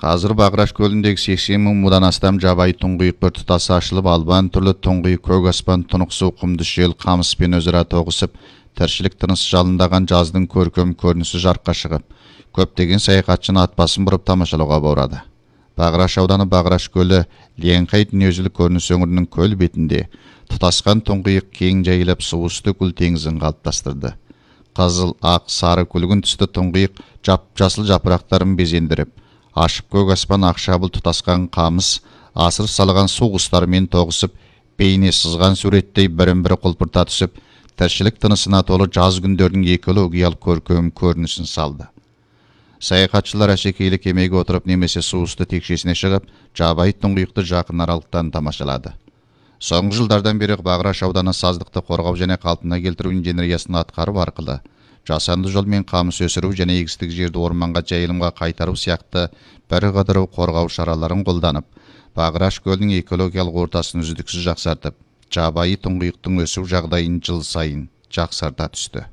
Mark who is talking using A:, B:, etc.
A: Азыр Баграш көлүндөгү 80 000 мудан астам жабайы туңгуйук бір тутасы ашылып, албан түрлүү туңгуйук көк аспан, тунук суу, кумдуш жел, камыспен өзара тогушуп, тирчилик тыныс жалындаган жаздын көркөм көрүнүшү жаркка чыгып, көптөгөн саякатчыны ат басын буруп тамашалоого барады. Баграш ауданы Баграш көлү Ленкай дүнүйөзүлүк көрүнүш өңүрүнүн көл бетинде тутаскан туңгуйук кең жайылып суу үстү көл теңизин калыптастырды. Кызыл, ак, сары, күлгүн түстүү туңгуйук жап-жасыл жапырактарын безендирип, ашык көк аспан акшабыл тутаскан камыс, асыр салган суу кустары менен тогушуп, бейне сызган сүрөттөй бирин-бири кулпурта түсүп, тирчилик тынысына толуу жаз күндөрүнүн экологиялык көркөм көрүнүшүн салды. Саякатчылар ашекейлик эмеге отуруп немесе суу үстү текшесине чыгып, жабайы туңгуйукту жакын аралыктан тамашалады. Соңку жылдардан бери Баграш ауданы саздыкты коргоо жана калпына келтирүү инженериясын аткаруу аркылуу жасанды жол менен камыс өсүрүү жана эгистик жерди орманга жайылымга кайтаруу сыяктуу бир катар коргоо чараларын колдонуп, Баграш көлүнүн экологиялык ортасын үздүксүз жаксартып, жабайы туңгуйуктун өсүү жагдайын жыл сайын жаксарта түстү.